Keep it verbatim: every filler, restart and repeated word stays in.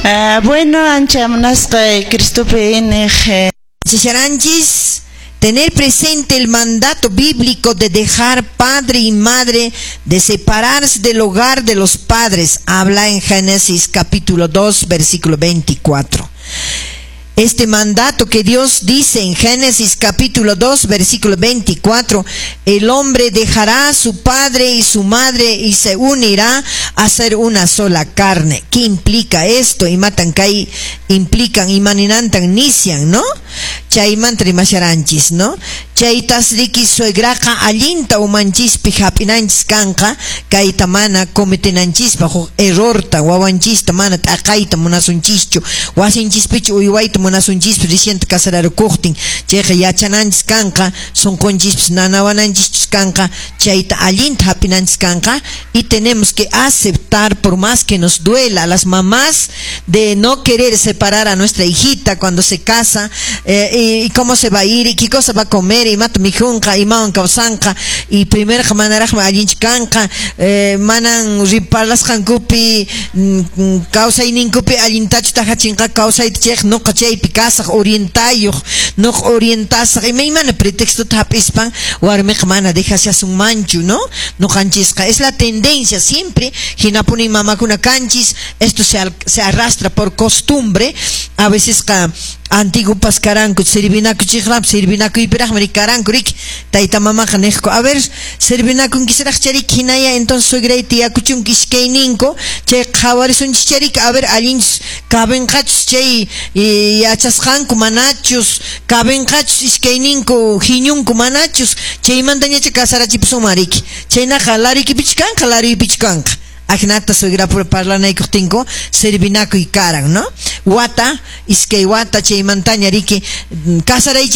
Uh, bueno, ancha munasqay Cristopi iñiq. Chicharanchis, tener presente el mandato bíblico de dejar padre y madre, de separarse del hogar de los padres. Habla en Génesis capítulo dos, versículo veinticuatro. Este mandato que Dios dice en Génesis capítulo dos, versículo veinticuatro, el hombre dejará a su padre y su madre y se unirá a ser una sola carne. ¿Qué implica esto? Imatan kay implican imaninantan nishan, ¿no? Chaymanta rimasharanchis, ¿no? Chaytas riki suegraqa allinta umanchispi hap'inanchis kanqa kayta mana cometenanchispa huk errorta, wawanchista mana t'aqayta munasunchischu, wasinchispichu uywayta munasunchispi reciente casararukuqtin. Chayqa yachananchis kanqa, sunqunchispis nanawananchischus kanqa, chayta allinta hap'inanchis kanqa, y tenemos que aceptar, por más que nos duela a las mamás, de no querer separar a nuestra hijita cuando se casa, eh, y, y cómo se va a ir y qué cosa va a comer, imata mikhunqa, imawan kawsanqa, y primerqa manaraqmi allinchu kanqa, eh, manan riparlasqankupi mm, kawsayninkupi allintachu tahachinqa kawsayta, chayqa nuqa chaypi kasaq orientayuq, nuqa orientasaq, imaymana pretextota hap'ispan warmiqa mana dejashasunmanchu, ¿no? Nuqanchisqa es la tendencia siempre, hinapuni mamakuna kanchis, esto se, se arrastra por costumbre. A veces qa antiguopas karanku servinakuchiqraq, servinakuypiraqmi karanku riki, tayta mamaqa niqku, "A ver, servinakunkisraq chariki, hinaya entonces suegray tiyakuchunku iskayninku, chay qhawarisunchis chariki, a ver allinchus kabinqachus chay yachasqanku manachus, kabinqachus iskayninku hiñunku manachus, chaymantañacha kasarachipusunman riki, chaynaqa lariykipichu kanqa, lariypichu kanqa." Ajinata suegrapura parlanaykuqtinku servinakuy karan, ¿no? Wata, iskay wata, chaymantaña riki kasaraychik.